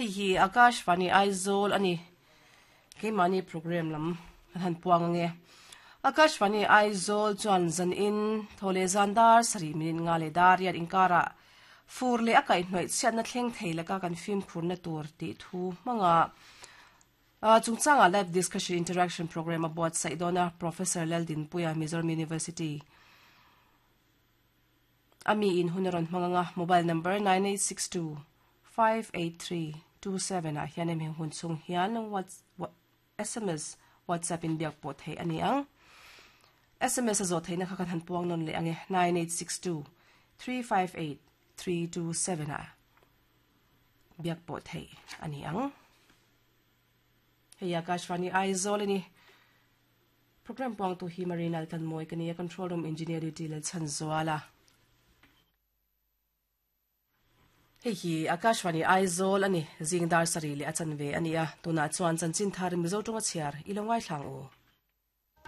Hei hi Akashvani Aizawl a ni. Keimahni program lam kan han puang ange. Akashvani Aizawl chuan zanin thaw leh zan dar sarih minute nga leh dar riat inkarah fur leh a kaihhnawih chhiatna thleng thei laka kan fimkhurna tur tih thu hmanga chungchangah live discussion interaction program a buatsaih dawn a, Professor Laldinpuia, Mizoram University. A mi in hun a rawn hmang ang a, mobile number 9862 583 27 ah hian hemi hun chhung hian sms, WhatsApp in biak pawh theih a ni ang. Sms a zawh theihna kha kan han puang nawn leh ang e, 9862 358 327 ah biak pawh theih a ni ang. Hei Akashvani Aizawl a ni. Program puangtu hi Marina Altanmawi ka ni a, Control Room Engineer duty Lalchhanzuala. Hei hi Akashvani Aizawl a ni, zing dar sarih leh a chanve a ni a, tunah chuan chanchin thar Mizo tawnga chhiar i lo ngaithla ang u.